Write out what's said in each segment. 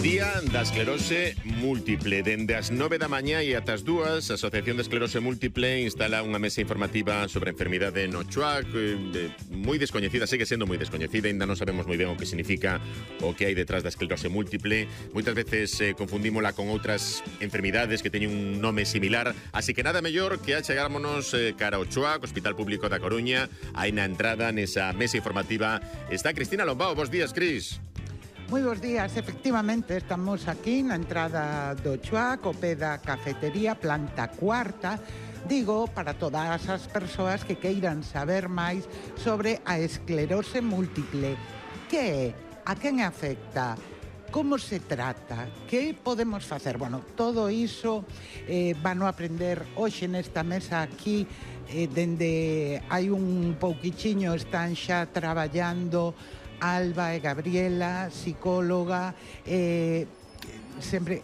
Día da esclerose múltiple. Dende as 9 da mañá e ata as 2, a Asociación de Esclerose Múltiple instala unha mesa informativa sobre a enfermidade no Chuac, moi descoñecida, segue sendo moi descoñecida, ainda non sabemos moi ben o que significa o que hai detrás da esclerose múltiple. Moitas veces confundímola con outras enfermidades que teñen un nome similar, así que nada mellor que achegámonos cara ao Chuac, Hospital Público da Coruña. Aí na entrada, nesa mesa informativa, está Cristina Lombao. Bos días, Cris. Moi bons días, efectivamente, estamos aquí na entrada do Chuac, o pé da cafetería, planta cuarta. Digo, para todas as persoas que queiran saber máis sobre a esclerose múltiple. Que é? A quen afecta? Como se trata? Que podemos facer? Bueno, todo iso van a aprender hoxe nesta mesa aquí, dende hai un pouquichiño están xa traballando Alba e Gabriela, psicóloga, sempre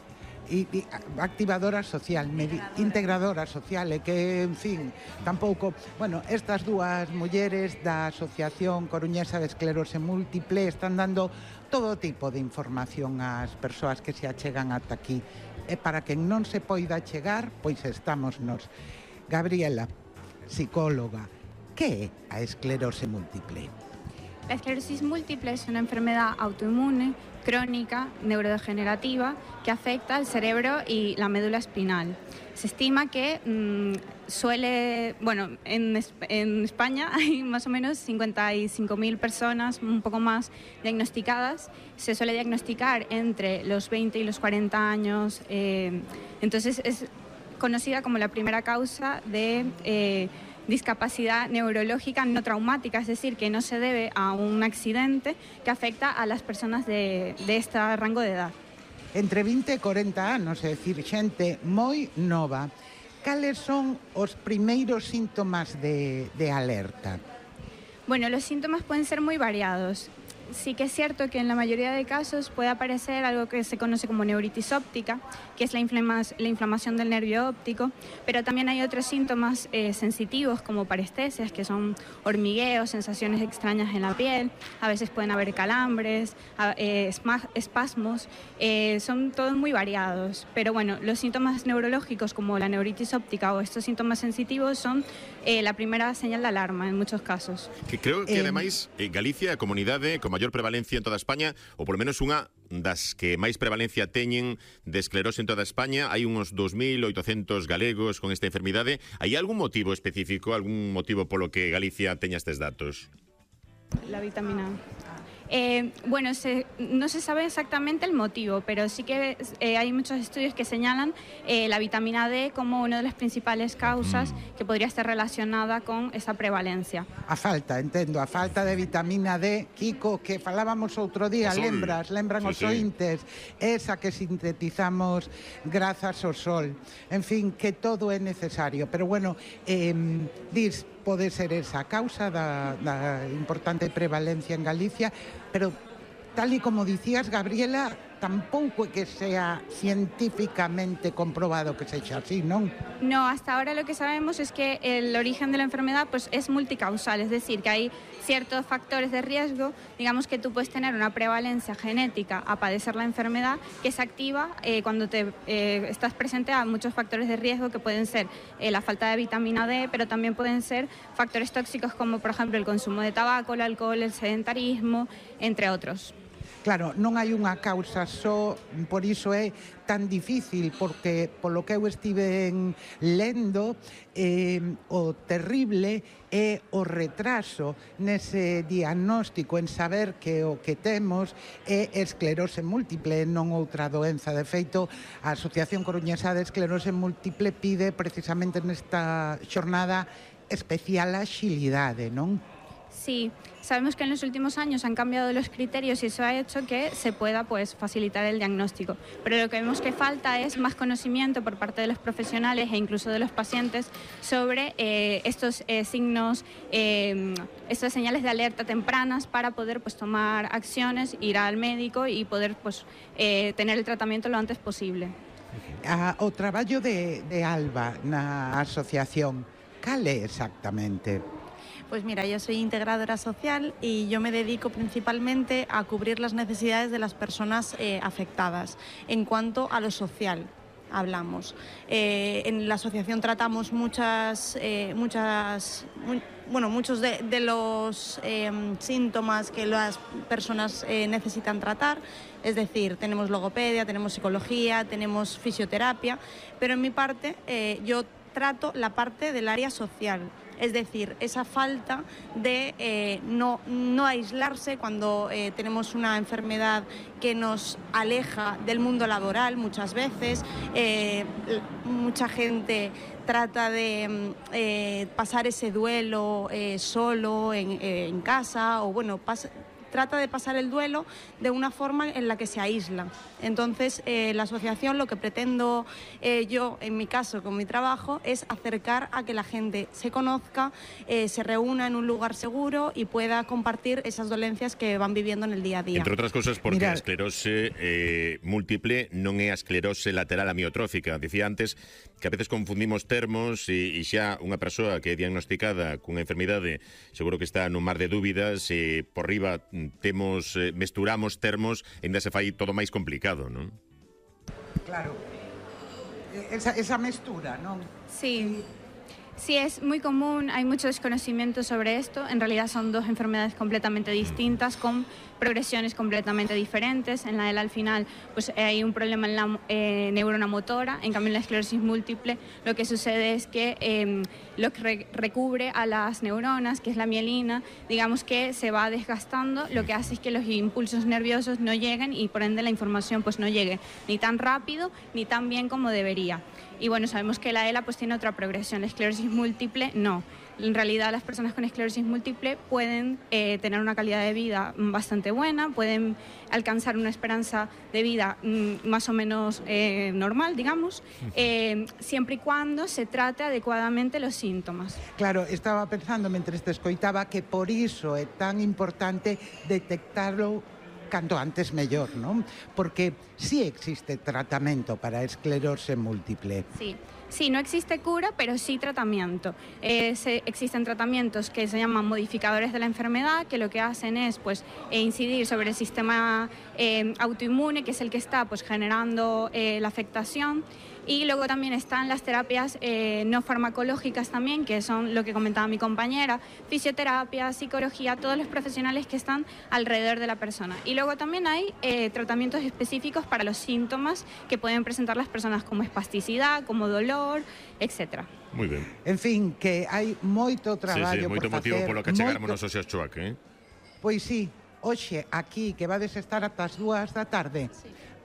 activadora social, integradora social, e que, en fin, tampouco... Bueno, estas dúas mulleres da Asociación Coruñesa de Esclerose Múltiple están dando todo tipo de información ás persoas que se achegan ata aquí. E para quen non se poida chegar, pois estamos nos. Gabriela, psicóloga, que é a esclerose múltiple? La esclerosis múltiple es una enfermedad autoinmune, crónica, neurodegenerativa, que afecta al cerebro y la médula espinal. Se estima que en España hay más o menos 55.000 personas, un poco más, diagnosticadas. Se suele diagnosticar entre los 20 y los 40 años. Entonces es conocida como la primera causa de discapacidad neurológica no traumática, es decir, que no se debe a un accidente que afecta a las personas de este rango de edad. Entre 20 e 40 anos, é dicir, xente moi nova. Cales son os primeiros síntomas de alerta? Bueno, los síntomas pueden ser muy variados. Sí que es cierto que en la mayoría de casos puede aparecer algo que se conoce como neuritis óptica, que es la inflamación del nervio óptico, pero también hay otros síntomas sensitivos como parestesias, que son hormigueos, sensaciones extrañas en la piel, a veces pueden haber calambres, espasmos, son todos muy variados. Pero bueno, los síntomas neurológicos como la neuritis óptica o estos síntomas sensitivos son la primera señal de alarma en muchos casos. Que creo que ademais Galicia é a comunidade con maior prevalencia en toda España, ou polo menos unha das que máis prevalencia teñen de esclerose en toda España. Hai uns 2.800 galegos con esta enfermidade. Hai algún motivo específico, algún motivo polo que Galicia teña estes datos? La vitamina A. Bueno, no se sabe exactamente el motivo, pero sí que hay muchos estudios que señalan la vitamina D como una de las principales causas que podría estar relacionada con esa prevalencia. A falta de vitamina D, Kiko, que falábamos outro día, lembran os ointes, esa que sintetizamos grazas ao sol. En fin, que todo é necesario, pero bueno, pode ser esa causa da importante prevalencia en Galicia, pero tal y como dicías, Gabriela, tampouco é que sea científicamente comprobado que sexa así, non? No, hasta ahora lo que sabemos es que el origen de la enfermedad pues, es multicausal, es decir, que hay ciertos factores de riesgo, digamos que tú puedes tener una prevalencia genética a padecer la enfermedad que se activa cuando estás presente a muchos factores de riesgo que pueden ser la falta de vitamina D, pero también pueden ser factores tóxicos como por ejemplo el consumo de tabaco, el alcohol, el sedentarismo, entre otros. Claro, non hai unha causa só, por iso é tan difícil, porque polo que eu estive lendo, o terrible é o retraso nese diagnóstico, en saber que o que temos é esclerose múltiple, non outra doenza. De feito, a Asociación Coruñesa de Esclerose Múltiple pide precisamente nesta xornada especial axilidade, non? Sí, sabemos que en los últimos años han cambiado los criterios y eso ha hecho que se pueda pues, facilitar el diagnóstico. Pero lo que vemos que falta es más conocimiento por parte de los profesionales e incluso de los pacientes sobre estos signos, estas señales de alerta tempranas para poder pues, tomar acciones, ir al médico y poder pues, tener el tratamiento lo antes posible. O traballo de Alba na asociación, cal é exactamente? Pues mira, yo soy integradora social y yo me dedico principalmente a cubrir las necesidades de las personas afectadas en cuanto a lo social. Hablamos. En la asociación tratamos muchos de los síntomas que las personas necesitan tratar, es decir, tenemos logopedia, tenemos psicología, tenemos fisioterapia, pero en mi parte yo trato la parte del área social. Es decir, esa falta de no aislarse cuando tenemos una enfermedad que nos aleja del mundo laboral muchas veces. Mucha gente trata de pasar ese duelo solo en casa o trata de pasar el duelo de una forma en la que se aísla. Entonces, la asociación, lo que pretendo yo, en mi caso, con mi trabajo, es acercar a que la gente se conozca, se reúna en un lugar seguro y pueda compartir esas dolencias que van viviendo en el día a día. Entre outras cousas porque a esclerose múltiple non é a esclerose lateral amiotrófica. Dicía antes que a veces confundimos termos e xa unha persoa que é diagnosticada cunha enfermidade seguro que está nun mar de dúbidas e por riba mesturamos termos e ainda se fai todo máis complicado, non? Claro, esa mestura, non? Sí. Sí, es muy común, hay mucho desconocimiento sobre esto. En realidad son dos enfermedades completamente distintas, con progresiones completamente diferentes. En la ELA al final pues hay un problema en la neurona motora, en cambio en la esclerosis múltiple lo que sucede es que lo que recubre a las neuronas, que es la mielina, digamos que se va desgastando, lo que hace es que los impulsos nerviosos no lleguen y por ende la información pues no llegue ni tan rápido ni tan bien como debería. Y bueno, sabemos que la ELA pues tiene otra progresión, la esclerosis múltiple no. En realidad las personas con esclerosis múltiple pueden tener una calidad de vida bastante buena, pueden alcanzar una esperanza de vida más o menos normal, digamos, siempre y cuando se trate adecuadamente los síntomas. Claro, estaba pensando mentres te escoitaba que por iso é tan importante detectarlo canto antes mellor, non? Porque sí existe tratamento para a esclerose múltiple. Sí, no existe cura, pero sí tratamiento. Existen tratamientos que se llaman modificadores de la enfermedad, que lo que hacen es pues, incidir sobre el sistema autoinmune, que es el que está pues, generando la afectación. Y luego también están las terapias no farmacológicas también, que son lo que comentaba mi compañera, fisioterapia, psicología, todos los profesionales que están alrededor de la persona. Y luego también hay tratamientos específicos para los síntomas que pueden presentar las personas como espasticidad, como dolor, etc. Moi ben. En fin, que hai moito traballo moito por motivo facer. polo que chegarmonos hoxe a Choac, Pois sí, hoxe aquí que vades estar ata as 2 da tarde.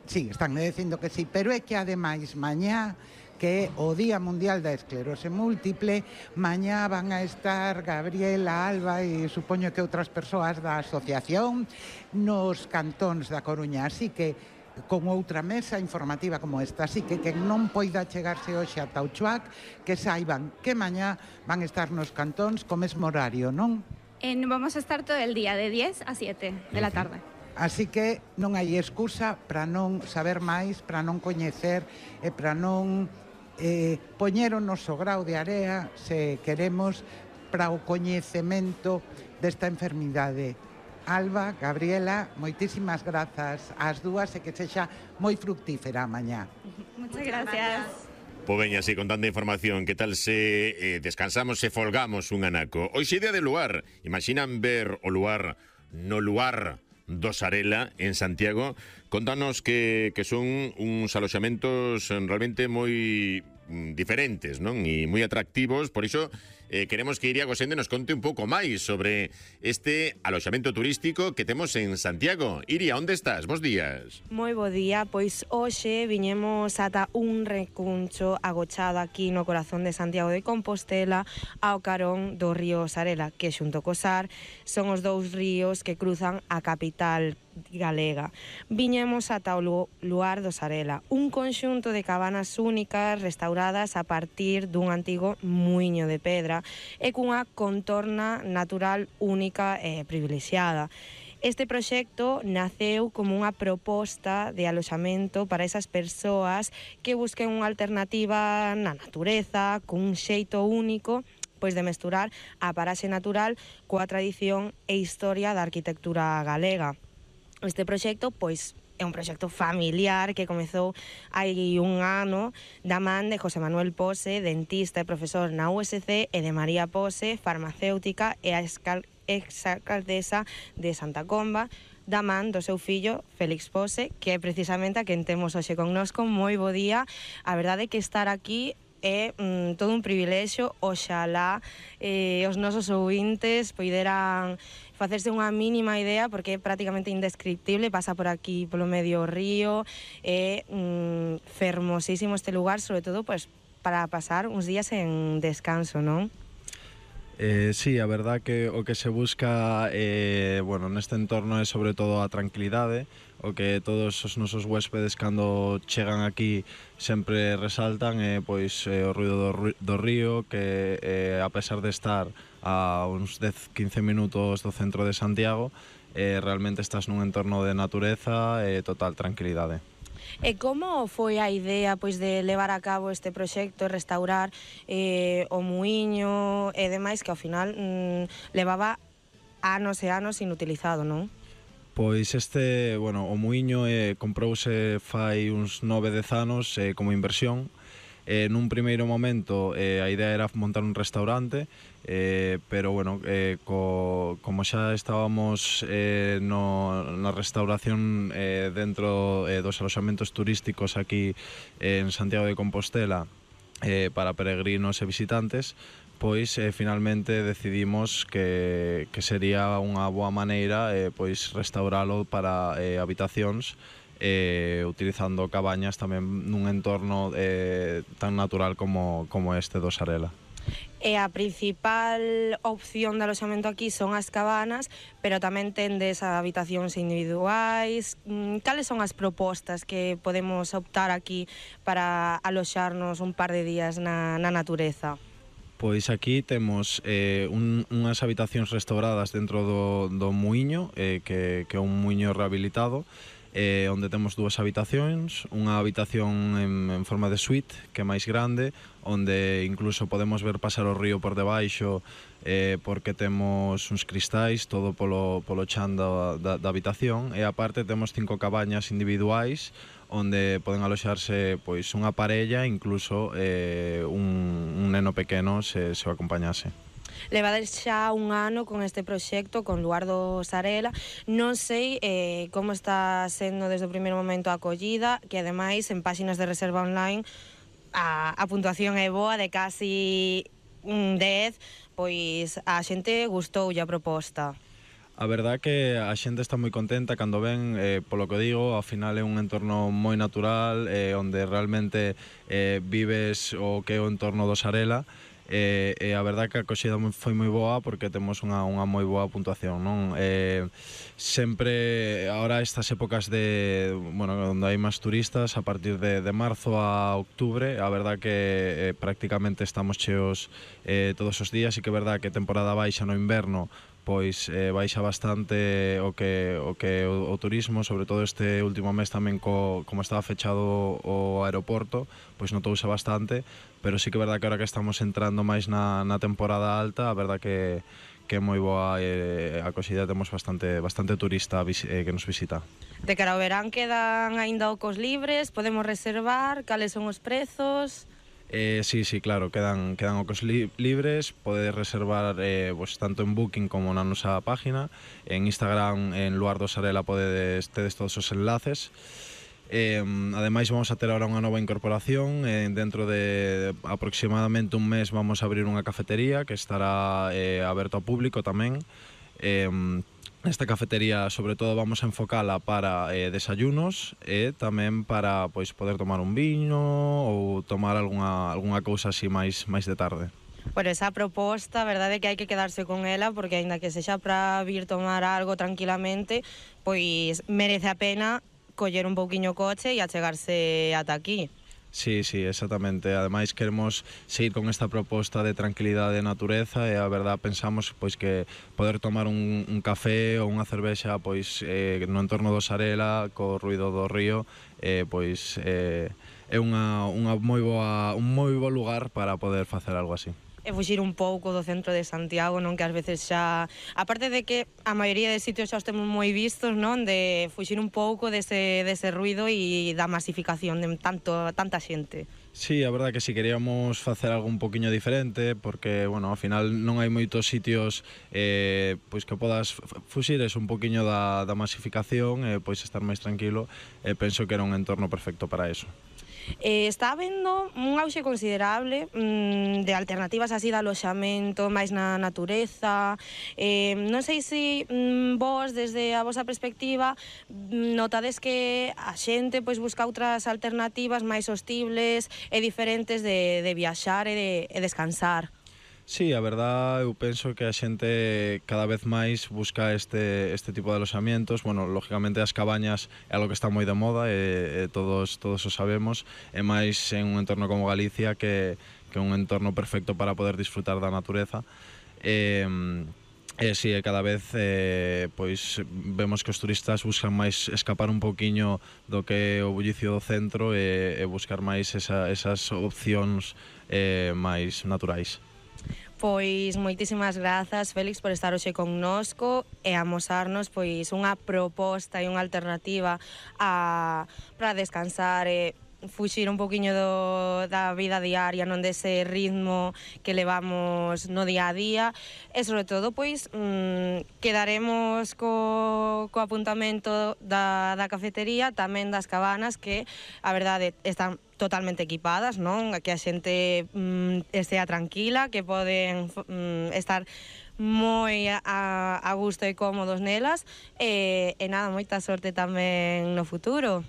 Sí, están dicindo que sí, pero é que ademais mañá, que é o Día Mundial da Esclerose Múltiple, mañá van a estar Gabriela, Alba e supoño que outras persoas da asociación nos cantóns da Coruña, así que con outra mesa informativa como esta, así que quen non poida chegarse hoxe ata o Choac, que saiban que mañá van estar nos cantóns co mesmo horario, non? Vamos a estar todo el día, de 10 a 7 de la tarde. Así que non hai excusa para non saber máis, para non coñecer e para non poñer o noso grao de area, se queremos, para o coñecemento desta enfermidade. Alba, Gabriela, moitísimas grazas ás dúas e que sexa moi fructífera mañá. Muchas gracias. Pois veña, así con tanta información, que tal se descansamos e folgamos un anaco? Hoxe día de luar, imaginan ver o luar no luar do Sarela, en Santiago. Contanos que son uns aloxamentos realmente moi diferentes, non? E moi atractivos, por iso queremos que Iria Gosende nos conte un pouco máis sobre este aloxamento turístico que temos en Santiago. Iria, onde estás? Bos días. Moi bo día, pois hoxe viñemos ata un recuncho agochado aquí no corazón de Santiago de Compostela ao carón do río Sarela, que xunto co Sar son os dous ríos que cruzan a capital galega. Viñemos ata o luar do Sarela, un conxunto de cabanas únicas restauradas a partir dun antigo muiño de pedra e cunha contorna natural única e privilexiada. Este proxecto naceu como unha proposta de aloxamento para esas persoas que busquen unha alternativa na natureza, con un xeito único pois de mesturar a paraxe natural coa tradición e historia da arquitectura galega. Este proxecto, pois, é un proxecto familiar que comezou hai un ano da man de José Manuel Pose, dentista e profesor na USC, e de María Pose, farmacéutica e exalcaldesa de Santa Comba, da man do seu fillo Félix Pose, que é precisamente a quen temos hoxe connosco. Moi bo día. A verdade é que estar aquí é todo un privilexio. Oxalá os nosos ouvintes poideran facerse unha mínima idea, porque é prácticamente indescriptible. Pasa por aquí polo medio río, é fermosísimo este lugar, sobre todo pues, para pasar uns días en descanso, non? Sí, a verdad que o que se busca bueno, neste entorno é sobre todo a tranquilidade, o que todos os nosos huéspedes cando chegan aquí sempre resaltan pois o ruido do río, que a pesar de estar a uns 10-15 minutos do centro de Santiago, realmente estás nun entorno de natureza e total tranquilidade. E como foi a idea pois de levar a cabo este proxecto e restaurar o muiño e demais, que ao final levaba anos e anos inutilizado, non? Pois bueno, o muiño comprouse fai uns 9-10 anos como inversión. Nun primeiro momento a idea era montar un restaurante, pero bueno, como xa estábamos na restauración dentro dos aloxamentos turísticos aquí en Santiago de Compostela para peregrinos e visitantes, pois finalmente decidimos que sería unha boa maneira pois restauralo para habitacións, utilizando cabañas tamén nun entorno tan natural como este do Sarela. E a principal opción de aloxamento aquí son as cabanas, pero tamén tendes habitacións individuais. Cales son as propostas que podemos optar aquí para aloxarnos un par de días na natureza? Pois aquí temos unhas habitacións restauradas dentro do muiño, que é un muiño rehabilitado, onde temos dúas habitacións, unha habitación en forma de suite, que é máis grande, onde incluso podemos ver pasar o río por debaixo, porque temos uns cristais todo polo chan da habitación, e aparte temos 5 cabañas individuais, onde poden aloxarse pois unha parella, incluso un neno pequeno se o acompañase. Levades xa un ano con este proxecto, con Luardo Sarela. Non sei como está sendo desde o primeiro momento a acollida, que ademais en páxinas de reserva online a puntuación é boa, de casi un 10, pois a xente gustoulle a proposta. A verdad que a xente está moi contenta cando ven, polo que digo, ao final é un entorno moi natural, onde realmente vives o que é o entorno do Sarela, e a verdad que a acoxida foi moi boa, porque temos unha moi boa puntuación, non? Sempre, ahora estas épocas bueno, onde hai máis turistas, a partir de marzo a octubre, a verdad que prácticamente estamos cheos todos os días, e que é verdad que temporada baixa no inverno, pois baixa bastante o turismo, sobre todo este último mes tamén como estaba fechado o aeroporto, pois notouse bastante, pero sí que é verdad que ahora que estamos entrando máis na temporada alta, a verdad que é moi boa a acoxida, temos bastante turista que nos visita. De cara ao verán quedan aínda ocos libres, podemos reservar, cales son os prezos? Sí, claro, quedan ocos libres, podedes reservar pues, tanto en Booking como na nosa página. En Instagram, en Luardo Sarela, tedes todos os enlaces. Ademais, vamos a ter ahora unha nova incorporación. Dentro de aproximadamente un mes vamos a abrir unha cafetería que estará aberto ao público tamén. Esta cafetería, sobre todo, vamos a enfocala para desayunos e tamén para pois, poder tomar un viño ou tomar algunha cousa así máis de tarde. Por esa proposta, a verdade é que hai que quedarse con ela, porque aínda que sexa para vir tomar algo tranquilamente, pois merece a pena coller un pouquiño coche e achegarse ata aquí. Sí, exactamente. Ademais queremos seguir con esta proposta de tranquilidade e natureza, e a verdad pensamos pois que poder tomar un café ou unha cervexa pois no entorno do Sarela, co ruido do río, pois é un moi bo lugar para poder facer algo así. e fuxir un pouco do centro de Santiago, non, que ás veces xa, aparte de que a maioría de sitios xa os temos moi vistos, non, de fuxir un pouco dese ruido e da masificación de tanta xente. Sí, a verdade que si queríamos facer algo un poquinho diferente, porque, bueno, ao final non hai moitos sitios pois que podas fuxir un poquinho da masificación e pois estar máis tranquilo, e penso que era un entorno perfecto para eso. Está habendo un auxe considerable de alternativas así de aloxamento máis na natureza. Non sei se vos, desde a vosa perspectiva, notades que a xente pois busca outras alternativas máis sostibles e diferentes de viaxar e de descansar. Sí, a verdad, eu penso que a xente cada vez máis busca este tipo de aloxamientos. Bueno, lógicamente as cabañas é algo que está moi de moda e todos o sabemos, e máis en un entorno como Galicia que é un entorno perfecto para poder disfrutar da natureza. Si, cada vez pois vemos que os turistas buscan máis escapar un poquiño do que é o bullicio do centro e buscar máis esas opcións máis naturais. Pois moitísimas grazas, Félix, por estar hoxe connosco e amosarnos pois unha proposta e unha alternativa para descansar e fuxir un poquinho da vida diaria, non dese ritmo que levamos no día a día, e sobre todo pois quedaremos co apuntamento da cafetería, tamén das cabanas, que a verdade están totalmente equipadas, non? Que a xente estea tranquila, que poden estar moi a gusto e cómodos nelas, e nada, moita sorte tamén no futuro.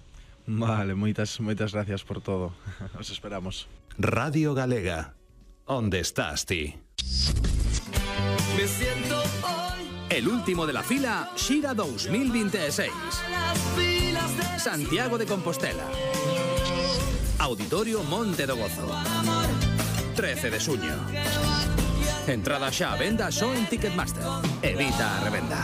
Vale, moitas gracias por todo. Os esperamos. Radio Galega, onde estás ti? Me siento hoy. El último de la fila, Xira 2026. Santiago de Compostela. Auditorio Monte do Gozo. 13 de xuño. Entrada xa a venda só en Ticketmaster. Evita a revenda.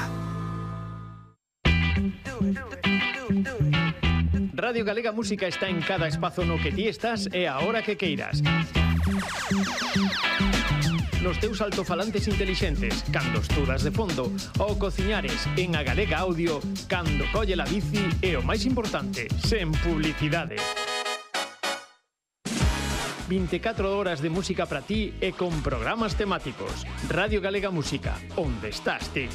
Radio Galega Música está en cada espazo no que ti estás e a hora que queiras. Nos teus altofalantes intelixentes, cando estudas de fondo, ou cociñares en a Galega Audio, cando colle la bici e o máis importante, sen publicidade. 24 horas de música para ti e con programas temáticos. Radio Galega Música, onde estás ti?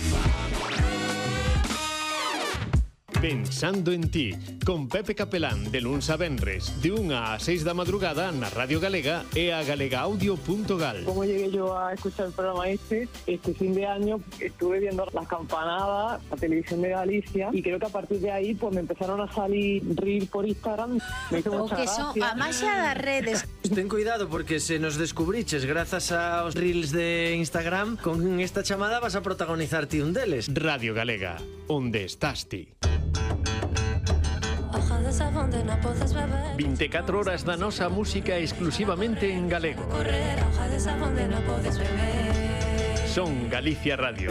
Pensando en ti, con Pepe Capelán, de luns a venres, de 1 a 6 da madrugada na Radio Galega e a galegaaudio.gal. Como llegué yo a escuchar el programa este fin de año estuve viendo las campanadas, la televisión de Galicia, y creo que a partir de ahí pues me empezaron a salir reels por Instagram. Me hizo mucha gracia. A maxia das redes. Ten cuidado porque se nos descubriches grazas aos reels de Instagram, con esta chamada vas a protagonizar ti un deles. Radio Galega, onde estás ti? 24 horas da nosa música exclusivamente en galego. Son Galicia Radio.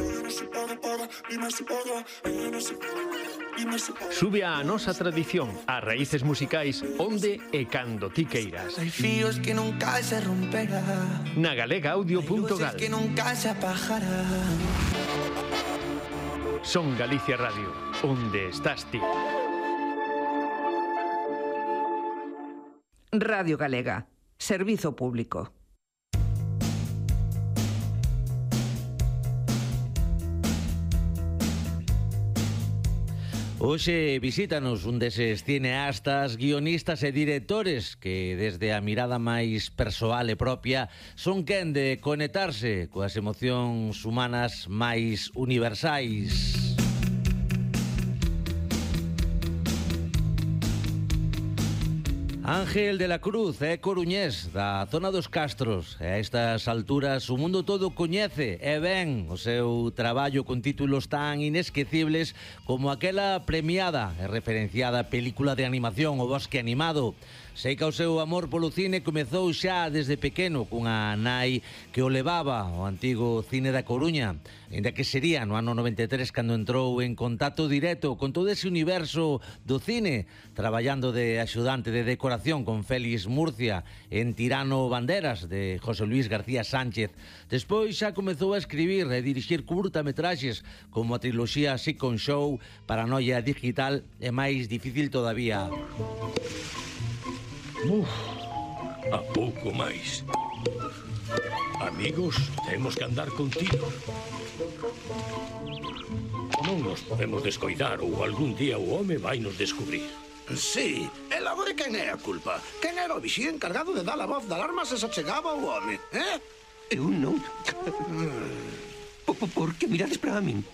Sube a nosa tradición, a raíces musicais, onde e cando ti queiras. Hai fíos que nunca se romperá, na galegaaudio.gal. que nunca se apagará. Son Galicia Radio, onde estás ti? Radio Galega, servizo público. Hoxe visítanos un deses cineastas, guionistas e directores que desde a mirada máis persoal e propia son quen de conectarse coas emocións humanas máis universais. Ángel de la Cruz é coruñés da zona dos Castros e a estas alturas o mundo todo coñece e ben o seu traballo con títulos tan inesquecibles como aquela premiada e referenciada película de animación O Bosque Animado. Sei que o seu amor polo cine comezou xa desde pequeno cunha nai que o levaba ao antigo cine da Coruña, ainda que sería no ano 93 cando entrou en contacto directo con todo ese universo do cine, traballando de axudante de decoración colaboración con Félix Murcia en Tirano Banderas, de José Luis García Sánchez. Despois xa comezou a escribir e dirixir curtametraxes como a triloxía Second Show, Paranoia Digital e máis difícil todavía. A pouco máis. Amigos, temos que andar contigo. Non nos podemos descoidar ou algún día o home vai nos descubrir. Sí, e logo de quen é a culpa? Quen era o vixía encargado de dar a voz de alarma se se chegaba o home, Eu non. Por que mirades para min?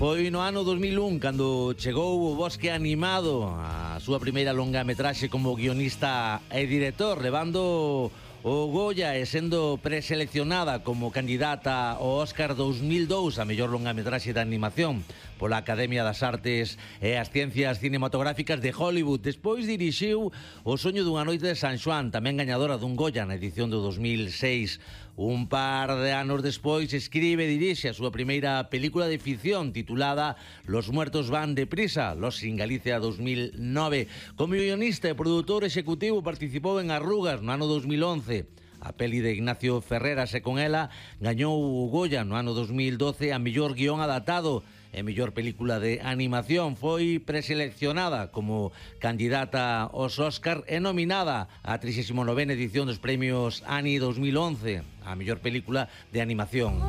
Foi no ano 2001 cando chegou o Bosque Animado, a súa primeira longametraxe como guionista e director, levando o Goya e sendo preseleccionada como candidata ao Óscar 2002 a mellor longametraxe de animación pola Academia das Artes e as Ciencias Cinematográficas de Hollywood. Despois dirixiu O soño dunha noite de San Xoán, tamén gañadora dun Goya na edición do 2006. Un par de anos despois escribe e dirixe a súa primeira película de ficción titulada Los muertos van deprisa, Los in Galicia 2009. Como guionista e produtor executivo participou en Arrugas no ano 2011. A peli de Ignacio Ferreras e con ela gañou o Goya no ano 2012 a mellor guión adaptado e mellor película de animación. Foi preseleccionada como candidata aos Óscar e nominada á 39ª edición dos premios Annie 2011 a mellor película de animación.